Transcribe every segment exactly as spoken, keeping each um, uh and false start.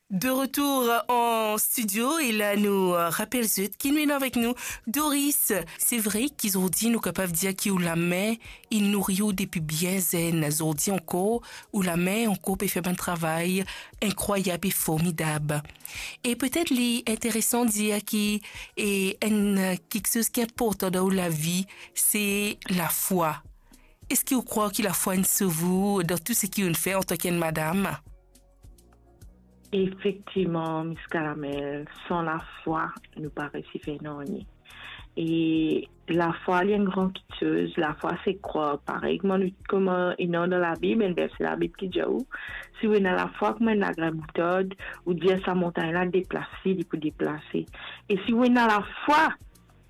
De retour an stidio, e la nou rapel zot ki nou ena avek nou Doris. Se vre ki zordi nou kapav dir ki ou lame inn nouri ou depi bien zenn. Zordi ankor, ou lame ankor pe fer bann travay inkrwayab e formidab. E petet li interesan dir ki, e enn kiksoz ki inportan dan ou lavi, se lafwa. Eski ou krwar ki lafwa inn sov ou dan tou seki ou inn fer antanki enn madam? Efektivman, Miss Caramel, san lafwa, nou pa resi fer nanye. E lafwa, li enn gran kiksoz. Lafwa, se krwar. Parey kouma nou, kouma ena dan Labib, enn verse Labib ki dir ou, si ou ena lafwa kouma enn lagrin moutard, ou dir sa montagn la, "Deplase," li pou deplase. E si ou ena lafwa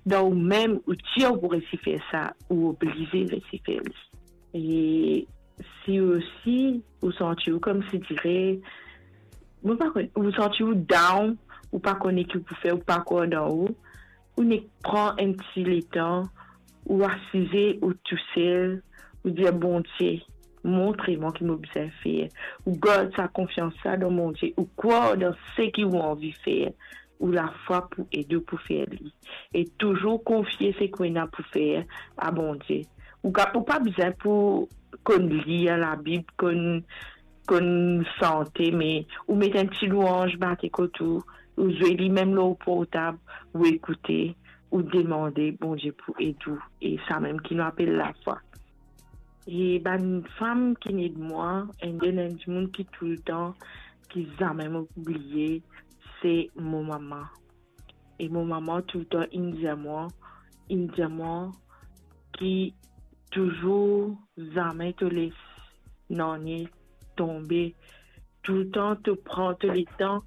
dan ou mem, ou dir ou pou resi fer sa, ou oblize resi fer li. E si osi ou santi ou koumsidire, mo pa konn, ou santi ou down, ou pa konn ki ou pou fer, ou pa krwar dan ou, ou nek pran enn ti letan, ou asize ou tousel, ou dir, "Bondie, montre mwa ki mo bizin fer." Ou gard sa konfians la dan Bondie, ou krwar dan seki ou anvi fer, ou lafwa pou ed ou pou fer li. E touzour konfie seki ou ena pou fer a Bondie. Ou ka, ou pa bizin pou konn lir Labib, konn, konn sante, me ou met enn ti lwanz bate kot ou, ou zwe li mem lor portab, ou ekoute, ou demande Bondie pou ed ou. E samem ki nou apel lafwa. E bann fam ki inn ed mwa, enn, enn dimoun ki toultan, ki zame mo pou bliye, se mo mama. E mo mama toultan inn dir mwa, inn dir mwa ki touzour zame to les nanye tonbe. Toultan to pran to letan,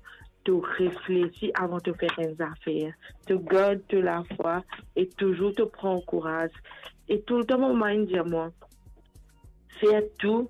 to reflesi avan to fer enn zafer. To gard to lafwa e touzour to pran kouraz. E toultan mo mama inn dir mwa, fer tou